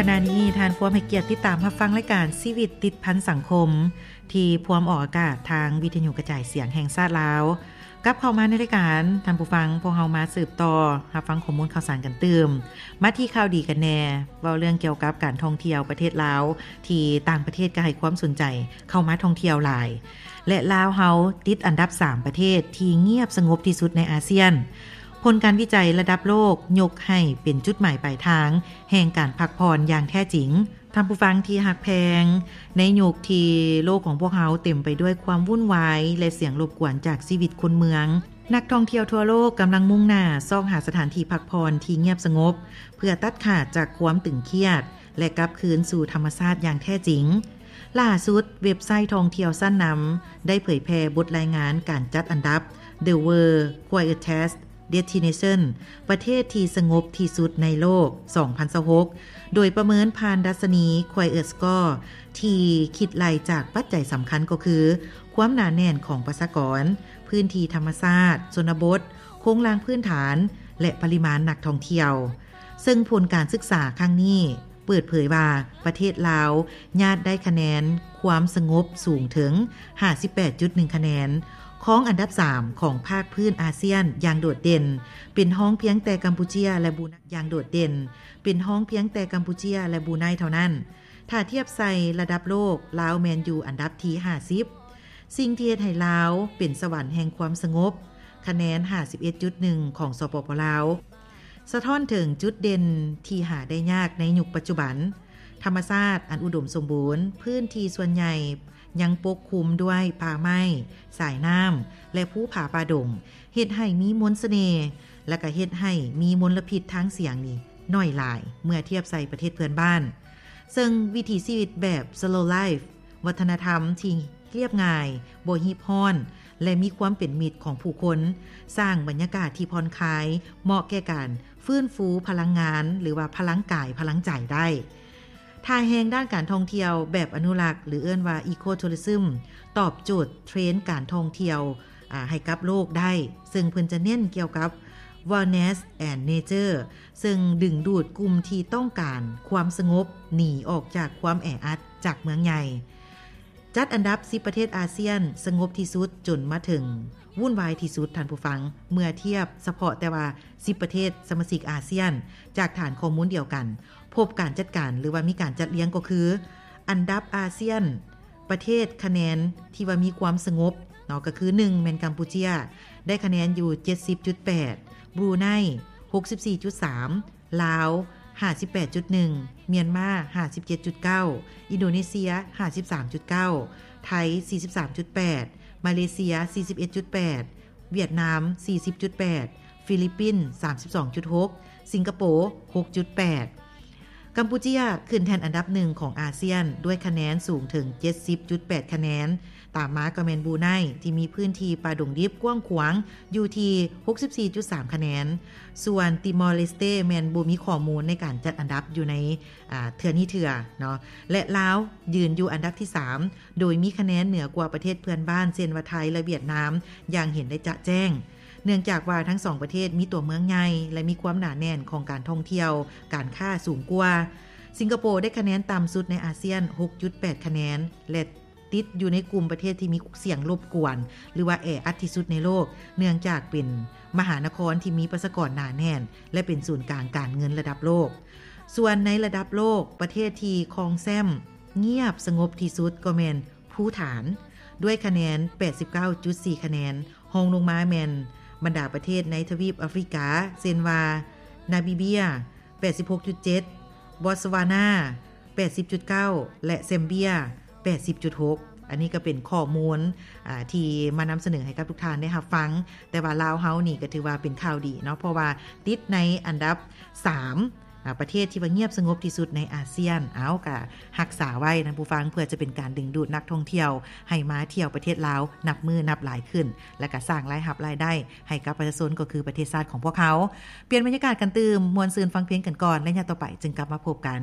ຂະນະນີ້ທ່ານພວມໃຫ້ກຽດຕິດຕາມຮັບຟັງລາຍການຊີວິດຕິດພັນສັງຄົມ ທີ່ພວມອອກອາກາດທາງວິທະຍຸກະຈາຍສຽງແຫ່ງຊາດລາວ. ກັບເຂົ້າມາໃນລາຍການ, ທ່ານຜູ້ຟັງ, ພວກເຮົາມາສືບຕໍ່ຮັບຟັງຂໍ້ມູນຂ່າວສານກັນຕື່ມ. ມາທີ່ຂ່າວດີກັນແດ່, ເວົ້າເລື່ອງກ່ຽວກັບການທ່ອງທ່ຽວປະເທດລາວ ທີ່ຕ່າງປະເທດກໍໃຫ້ຄວາມສົນໃຈເຂົ້າມາທ່ອງທ່ຽວຫຼາຍ ແລະ ລາວເຮົາຕິດອັນດັບສາມປະເທດທີ່ງຽບສະຫງົບທີ່ສຸດໃນອາຊຽນ. ຜົນການວິໄຈລະດັບໂລກຍົກໃຫ້ເປັນຈຸດໝາຍປາຍທາງແຫ່ງການພັກຜ່ອນຢ່າງແທ້ຈິງ. ທ່ານຜູ້ຟັງທີ່ຮັກແພງ, ໃນຍຸກທີ່ໂລກຂອງພວກເຮົາເຕັມໄປດ້ວຍຄວາມວຸ່ນວາຍ ແລະ ສຽງລົບກວນຈາກຊີວິດຄົນເມືອງ, ນັກທ່ອງທ່ຽວທົ່ວໂລກກຳລັງມຸ່ງໜ້າຊອກຫາສະຖານທີ່ພັກຜ່ອນທີ່ງຽບສະຫງົບ ເພື່ອຕັດຂາດຈາກຄວາມຕຶງຄຽດ ແລະ ກັບຄືນສູ່ທຳມະຊາດຢ່າງແທ້ຈິງ. ລ່າສຸດ, ເວັບໄຊທ່ອງທ່ຽວຊັ້ນນຳໄດ້ເຜີຍແຜ່ບົດລາຍງານການຈັດອັນດັບ The World Quietest Destination ປະເທດທີ່ສະຫງົບທີ່ສຸດໃນໂລກ ສອງພັນຊາວຫົກ ໂດຍປະເມີນຜ່ານດັດຊະນີ Quiet Score ທີ່ຄິດໄລ່ຈາກປັດໄຈສຳຄັນກໍຄື ຄວາມໜາແໜ້ນຂອງປະຊາກອນ, ພື້ນທີ່ທຳມະຊາດ, ຊົນນະບົດ, ໂຄງລ່າງພື້ນຖານ ແລະ ປະລິມານນັກທ່ອງທ່ຽວ. ເຊິ່ງຜົນການສຶກສາຄັ້ງນີ້ເປີດເຜີຍວ່າ ປະເທດລາວຍາດໄດ້ຄະແນນຄວາມສະຫງົບສູງເຖິງຫ້າສິບແປດຈຸດໜຶ່ງຄະແນນ, ຄອງອັນດັບສາມຂອງພາກພື້ນອາຊຽນຢ່າງໂດດເດັ່ນ, ເປັນຮອງພຽງແຕ່ກຳປູເຈຍ ແລະ ບຣູໄນ ຢ່າງໂດດເດັ່ນ, ເປັນຮອງພຽງແຕ່ກຳປູເຈຍ ແລະ ບຣູໄນເທົ່ານັ້ນ. ຖ້າທຽບໃສ່ລະດັບໂລກ, ລາວແມ່ນຢູ່ອັນດັບທີຫ້າສິບ. ສິ່ງທີ່ເຮັດໃຫ້ລາວເປັນສະຫວັນແຫ່ງຄວາມສະຫງົບ, ຄະແນນຫ້າສິບເອັດຈຸດໜຶ່ງຂອງ ສປປ ລາວ ສະທ້ອນເຖິງຈຸດເດັ່ນທີ່ຫາໄດ້ຍາກໃນຍຸກປັດຈຸບັນ. ທຳມະຊາດອັນອຸດົມສົມບູນ, ພື້ນທີ່ສ່ວນໃຫຍ່ຍັງປົກຄຸມດ້ວຍປ່າໄມ້, ສາຍນ້ຳ ແລະ ພູຜາປ່າດົງ, ເຮັດໃຫ້ມີມົນສະເໜ່ ແລະ ກະເຮັດໃຫ້ມີມົນລະພິດທາງສຽງນີ້ໜ້ອຍຫຼາຍເມື່ອທຽບໃສ່ປະເທດເພື່ອນບ້ານ. ເຊິ່ງວິຖີຊີວິດແບບ Slow Life, ວັດທະນະທຳທີ່ລຽບງ່າຍ, ບໍ່ຮີບຮ້ອນ ແລະ ມີຄວາມເປັນມິດຂອງຜູ້ຄົນ, ສ້າງບັນຍາກາດທີ່ຜ່ອນຄາຍ, ເໝາະແກ່ການຟື້ນຟູພະລັງງານ ຫຼືວ່າພະລັງກາຍ, ພະລັງໃຈໄດ້. ທ່າແຮງດ້ານການທ່ອງທ່ຽວແບບອະນຸລັກ ຫຼື ເອີ້ນວ່າ Eco Tourism ຕອບໂຈດເທຣນການທ່ອງທ່ຽວ ອາ ໃຫ້ກັບໂລກໄດ້, ເຊິ່ງເພິ່ນຈະເນັ້ນກ່ຽວກັບ Wellness and Nature ເຊິ່ງດຶງດູດກຸ່ມທີ່ຕ້ອງການຄວາມສະຫງົບ, ໜີອອກຈາກຄວາມແອອັດຈາກເມືອງໃຫຍ່. ຈັດອັນດັບສິບປະເທດອາຊຽນສະຫງົບທີ່ສຸດຈົນມາເຖິງວຸ່ນວາຍທີ່ສຸດ, ທ່ານຜູ້ຟັງ, ເມື່ອທຽບສະເພາະແຕ່ວ່າສິບປະເທດສະມາຊິກອາຊຽນ ຈາກຖານຂໍ້ມູນດຽວກັນ, ພົບການຈັດການ ຫຼືວ່າມີການຈັດລຽງກໍຄື ອັນດັບອາຊຽນ ປະເທດຄະແນນທີ່ວ່າມີຄວາມສະຫງົບເນາະ ກໍຄື ໜຶ່ງ ແມ່ນກຳປູເຈຍ ໄດ້ຄະແນນຢູ່ ເຈັດສິບຈຸດແປດ, ບຣູໄນ ຫົກສິບສີ່ຈຸດສາມ, ລາວ ຫ້າສິບແປດຈຸດໜຶ່ງ, ມຽນມາ ຫ້າສິບເຈັດຈຸດເກົ້າ, ອິນໂດເນເຊຍ ຫ້າສິບສາມຈຸດເກົ້າ, ໄທ ສີ່ສິບສາມຈຸດແປດ, ມາເລເຊຍ ສີ່ສິບເອັດຈຸດແປດ, ຫວຽດນາມ ສີ່ສິບຈຸດແປດ, ຟີລິບປິນ ສາມສິບສອງຈຸດຫົກ, ສິງກະໂປ ຫົກຈຸດແປດ. ກຳປູເຈຍຂຶ້ນແທ່ນອັນດັບໜຶ່ງຂອງອາຊຽນ ດ້ວຍຄະແນນສູງເຖິງ ເຈັດສິບຈຸດແປດຄະແນນ, ຕາມມາກໍແມ່ນບຣູໄນ ທີ່ມີພື້ນທີ່ປ່າດົງດິບກວ້າງຂວາງຢູ່ທີ່ ຫົກສິບສີ່ຈຸດສາມຄະແນນ, ສ່ວນຕີມໍເລສເຕ ແມ່ນບໍ່ມີຂໍ້ມູນໃນການຈັດອັນດັບຢູ່ໃນ ອາ ເທື່ອນີ້ເທື່ອເນາະ ແລະ ລາວຢືນຢູ່ອັນດັບທີສາມ ໂດຍມີຄະແນນເໜືອກວ່າປະເທດເພື່ອນບ້ານ ເຊັ່ນວ່າ ໄທ ແລະ ຫວຽດນາມ ຢ່າງເຫັນໄດ້ຈະແຈ້ງ. ເນື່ອງຈາກວ່າທັງສອງປະເທດມີຕົວເມືອງໃຫຍ່ ແລະ ມີຄວາມໜາແໜ້ນຂອງການທ່ອງທ່ຽວ, ການຄ້າສູງກວ່າ. ສິງກະໂປໄດ້ຄະແນນຕ່ຳສຸດໃນອາຊຽນ ຫົກຈຸດແປດຄະແນນ ແລະ ຕິດຢູ່ໃນກຸ່ມປະເທດທີ່ມີສຽງລົບກວນ ຫຼືວ່າແອອັດທີ່ສຸດໃນໂລກ, ເນື່ອງຈາກເປັນມະຫານະຄອນທີ່ມີປະຊາກອນໜາແໜ້ນ ແລະ ເປັນສູນກາງການເງິນລະດັບໂລກ. ສ່ວນໃນລະດັບໂລກ, ປະເທດທີ່ຄອງແຊ້ມງຽບສະຫງົບທີ່ສຸດກໍແມ່ນພູຖານ ດ້ວຍຄະແນນ ແປດສິບເກົ້າຈຸດສີ່ຄະແນນ, ຮອງລົງມາແມ່ນບັນດາປະເທດໃນທະວີບອາຟຣິກາ ເຊັ່ນວ່າ ນາບີເບຍ ແປດສິບຫົກຈຸດເຈັດ, ບອດສະວານາ ແປດສິບຈຸດເກົ້າ ແລະ ແຊມເບຍ ແປດສິບຈຸດຫົກ. ອັນນີ້ກໍເປັນຂໍ້ມູນ ອາ ທີ່ມານຳສະເໜີໃຫ້ກັບທຸກທ່ານໄດ້ຮັບຟັງ. ແຕ່ວ່າລາວເຮົານີ້ກໍຖືວ່າເປັນຂ່າວດີເນາະ ເພາະວ່າຕິດໃນອັນດັບສາມ ອາ ປະເທດທີ່ວ່າງຽບສະຫງົບທີ່ສຸດໃນອາຊຽນ. ເອົາ ກໍຮັກສາໄວ້ນະຜູ້ຟັງ ເພື່ອຈະເປັນການດຶງດູດນັກທ່ອງທ່ຽວໃຫ້ມາທ່ຽວປະເທດລາວນັບມື້ນັບຫຼາຍຂຶ້ນ ແລະ ກໍສ້າງລາຍຮັບລາຍໄດ້ໃຫ້ກັບປະຊາຊົນ ກໍຄືປະເທດຊາດຂອງພວກເຮົາ. ປ່ຽນບັນຍາກາດກັນຕື່ມ, ມ່ວນຊື່ນຟັງເພງກັນກ່ອນ ແລະ ຍາມຕໍ່ໄປຈຶ່ງກັບມາພົບກັນ.